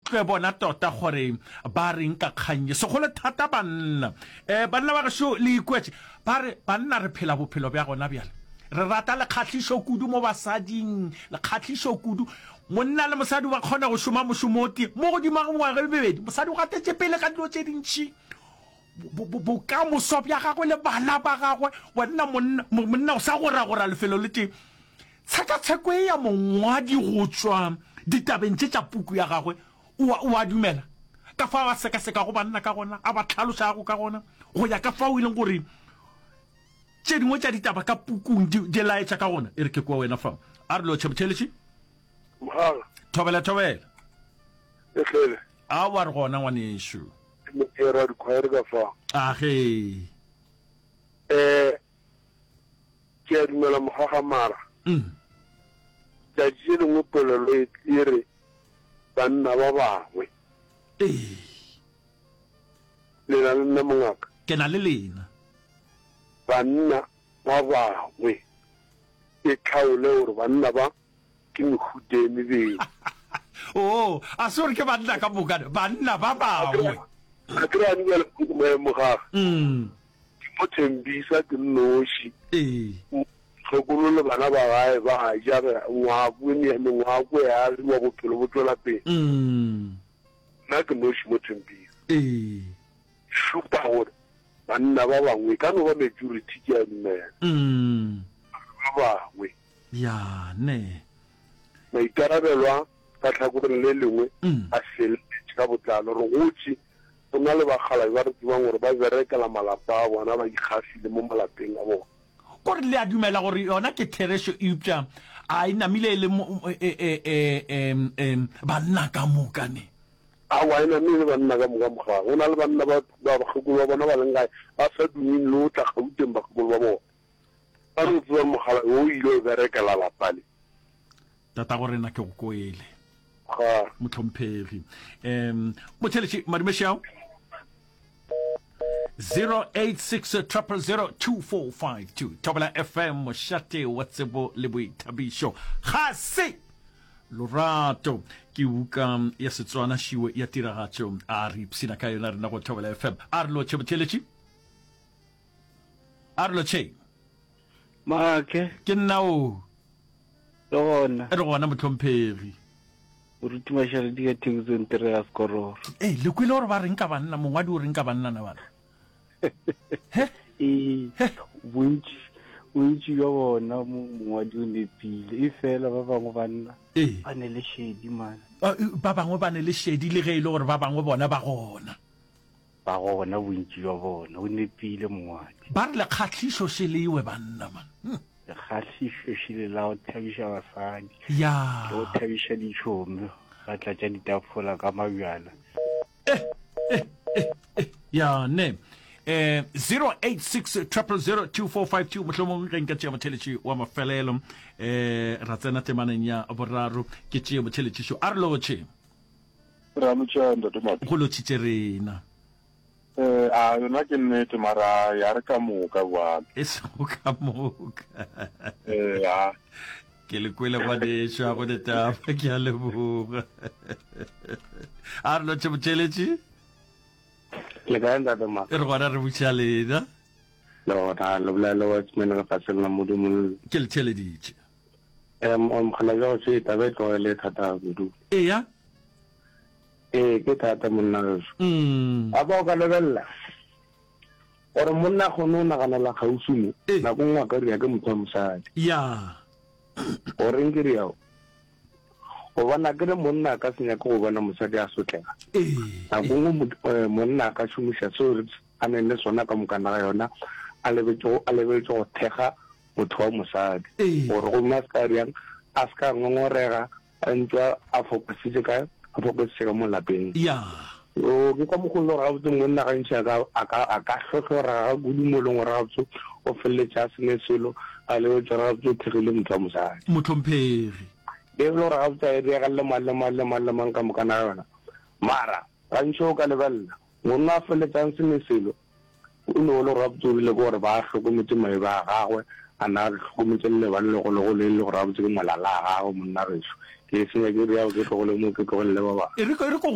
Tlwe bona tota gore ba reng ka kgang ye, segolo thata banna. E, banna ba gešo, le ikwetše. Ba re, Banna, re phela bophelo bja gona bjale. Re rata lekgahlišo kudu mo basading, lekgahlišo kudu. Monna le mosadi ba kgona go šoma mošomo o tee mo godimo ga mengwaga e mebedi. Mosadi o gatetše pele ka dilo tše dintši, bo, bo, bokamoso bja gagwe le bana ba gagwe. Wena monna, monna o sa goragora lefelo le tee. Tshekatsheko ye ya mongwadi go tšwa ditabeng tše tša puku ya gagwe, o a, o a dumela ka fao a sekasekago banna ka gona, a ba hlalošago ka gona, go ya ka fao e leng gore tše dingwe tša ditaba ka pukung di, di laetša ka gona. E re ke kwa wena fa. A re lotšhe motheeletši. Mogala. Thobela, thobela. E hlele. Aowa re gona ngwanešu. Ke moera dikhwaere ka fa. Age. Eh, Ke a dumela mogagamara. Tšatši le lengwe polelo e e re banna ba bangwe. Ee. Le na le nna mongaka? Ke na le lena. Banna ba bangwe. E tlhaole gore banna ba ke mehuta e mebedi. Oo, a se gore ke banna ka moka, banna ba bangwe. A ke re a bjale mogaga. Ke mo Thembisa ke nnoši. Ee. Mokgekolo le bana ba gae ba a ja, re ngwako e mengwako e agiwa, bophelo bo tšwela pele. Nna ke noši mo Thembisa. Ee. Šupa gore banna ba bangwe, e ka no ba majority ke a dumela, ba bangwe. Ya, ne. Maikarabelo a ka tlhakoreng le lengwe a feleletše ka botlalo. Re gotše go na le bakgalabje ba re tsebang gore ba berekela malapa a bona, ba ikgafile mo malapeng a bona. Kore le a dumela gore yona ke therešo, eupša a e namile e le banna ka moka, ne? Aowa, e namile e le banna ka moka, mogang. Go na le banna ba bakgekolo ba bona ba leng gae ba sa dumeng le go tla Gauteng bakgekolo ba bona. Ba no tseba mokgalabje o ile o berekela lapa le. Tatago rena ke go kwele. Ga. Mohlomphegi. Um motheletši madumešiao 086 000 2452 Thobela FM mošate wa tsebo le boithabišo ga se lorato ke buka ya Setswana šiwe ya tiragatšo a re ipshina ka yona rena go Thobela FM a re lotšhe motheletši A re lotšheng. Maake. Ke nna o. Le gona. Re gona mohlomphegi. Moruti Mašaledi ka Thekisong Tere ga Sekororo. Ee, le kwele gore ba reng ka banna, mongwadi o reng ka banna na bana? He? Ee, bontši, bontši bja bona mongwadi o nepile, efela ba bangwe banna Ee. ba ne le šedi man. Ba bangwe ba ne le šedi le ge e le gore ba bangwe bona ba gona. Ba gona bontši bja bona. O nepile mongwadi. Ba re lekgahlišo šelewe banna man. Hm. Lekgahlišo šele la go thabiša basadi. Ya. Le go thabiša ditšhomi. Ba tlatša ditafola ka mabjala. Eh, eh, eh, eh. Ya, ne. Eh, 086 000 2452 mohlomong ge nka tšea motheletši wa mafelelo eh ra tsena temaneng ya boraro ke tšee motheletšišo a re lotšhe Re a lotšha ntate Madi. Go lotšhitše rena. Eh, a yona ke nnete mara ya re ka moka bjale. E sego ka moka. Eh, a. Ke le kwele ngwanešu a go ditaba ke a leboga. A re lotšhe motšheletši. Le kae ntate Madi? Re gona re buša lena. Le gona le bolela le Watchman lefatsheng la Modimo. Ke le theeleditše. Um, mokgalabje wa gešo, taba e tloga e le thata kudu. Eya. Ee, ke thata monna gešo. Mm. Gape o ka lebelela gore monna a kgone go naganela kgauswi mo, Ee. nako nngwe a ka ria ke motho wa mosadi. Ya. Goreng ke riao? Gobane a ke re monna a ka se nyake go bona mosadi a sotlega. Ee. Nako nngwe mot- eh, monna a ka šomiša seo a neng le sona ka mokana ga yona, a lebetše go a lebeletše go thekga motho wa mosadi gore gomme a se ka bjang a se ka ngongorega a ntse a focusitse ka a focusitse ka mo lapeng ya o ke ka mokgwa le gore gabotse monna gantši a ka a ka a ka hlohlora ga kudu mo e leng gore gabotse o feleletša a sene selo a lebetse gore gabotse o thekgile motho wa mosadi mohlomphegi e le gore gabotse a e diregalle mang le mang le mang le mang ka mokana ga yona mara gantši o ka lebelela monna a feletsang sene selo O no le gore gabotse o rile ke gore ba hlokometše maeba a gagwe, a na a hlokometše le lebane legologolo e le gore gabotse ke molala a gagwe monna gešo. Ke e senya ke realo ke tlogole mo ke tlogelele ba bangwe. E re, e re ko go.